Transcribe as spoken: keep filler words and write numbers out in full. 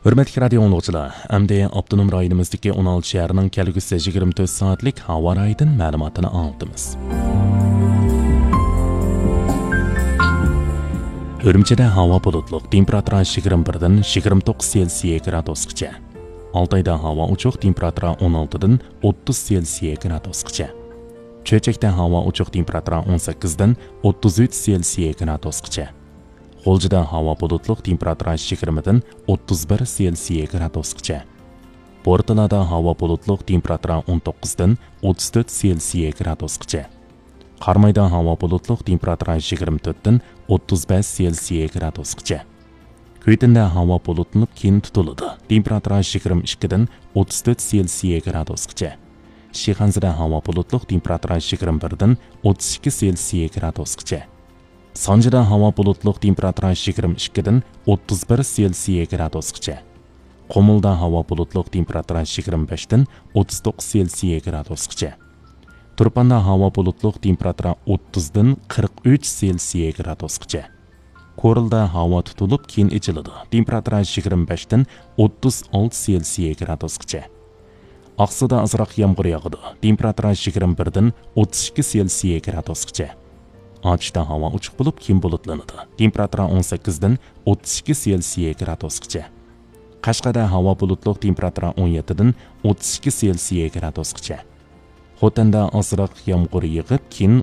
ھۆرمەتلىك رادىيو ئاڭلىغۇچىلار، ئەمدى ئاپتونوم رايونىمىزدىكى ئون ئالتە شەھەرنىڭ كەلگۈسى يىگىرمە تۆت سائەتلىك ھاۋا رايىدىن مەلۇماتىنى ئاڭلىتىمىز. ئۈرۈمچىدە ھاۋا بۇلۇتلۇق، تېمپېراتۇرا يىگىرمە بىردىن يىگىرمە توققۇز سېلسىيە گرادۇسقىچە. ئالتايدا ھاۋا ئوچۇق، تېمپېراتۇرا ئون ئالتىدىن ئوتتۇز سېلسىيە گرادۇسقىچە. چۆچەكتە ھاۋا ئوچۇق، تېمپېراتۇرا ئون سەككىزدىن ئوتتۇز ئۈچ سېلسىيە گرادۇسقىچە. غۇلجىدا ھاۋا بۇلۇتلۇق، تېمپېراتۇرا يىگىرمىدىن ئوتتۇز بىر سېلسىيە گرادۇسقىچە. بورتالادا ھاۋا بۇلۇتلۇق، تېمپېراتۇرا ئون توققۇزدىن ئوتتۇز تۆت سېلسىيە گرادۇسقىچە. قارامايدا ھاۋا بۇلۇتلۇق، تېمپېراتۇرا يىگىرمە تۆتتىن ئوتتۇز بەش سېلسىيە گرادۇسقىچە. كۈيتىندە ھاۋا بۇلۇتلىنىپ، كېيىن تۇتۇلىدۇ، تېمپېراتۇرا يىگىرمە ئىككىدىن ئوتتۇز تۆت سېلسىيە گرادۇسقىچە. شىخەنزىدە ھاۋا بۇلۇتلۇق، تېمپېراتۇرا يىگىرمە بىردىن ئوتتۇز ئىككى سېلسىيە گرادۇسقىچە. سانجىدا ھاۋا بۇلۇتلۇق، تېمپېراتۇرا يىگىرمە ئىككىدىن ئوتتۇز بىر سېلسىيە گرادۇسقىچە. قۇمۇلدا ھاۋا بۇلۇتلۇق، تېمپېراتۇرا يىگىرمە بەشتىن ئوتتۇز توققۇز سېلسىيە گرادۇسقىچە. تۇرپاندا ھاۋا بۇلۇتلۇق، تېمپېراتۇرا ئوتتۇزدىن قىرىق ئۈچ سېلسىيە گرادۇسقىچە. كورلىدا ھاۋا تۇتۇلۇپ، كېيىن ئېچىلىدۇ، تېمپېراتۇرا يىگىرمە بەشتىن ئوتتۇز ئالتە سېلسىيە گرادۇسقىچە. ئاقسۇدا ئازراق يامغۇر ياغىدۇ، تېمپېراتۇرا يىگىرمە بىردىن ئوتتۇز ئىككى سېلسىيە گرادۇسقىچە. ئاتۇشتا ھاۋا ئوچۇق بولۇپ، كېيىن بۇلۇتلىنىدۇ، تېمپېراتۇرا ئون سەككىزدىن ئوتتۇز ئىككى سېلسىيە گرادۇسقىچە. قەشقەردە ھاۋا بۇلۇتلۇق، تېمپېراتۇرا ئون يەتتىدىن ئوتتۇز ئىككى سېلسىيە گرادۇسقىچە. خوتەندە ئازراق يامغۇر يېغىپ، كېيىن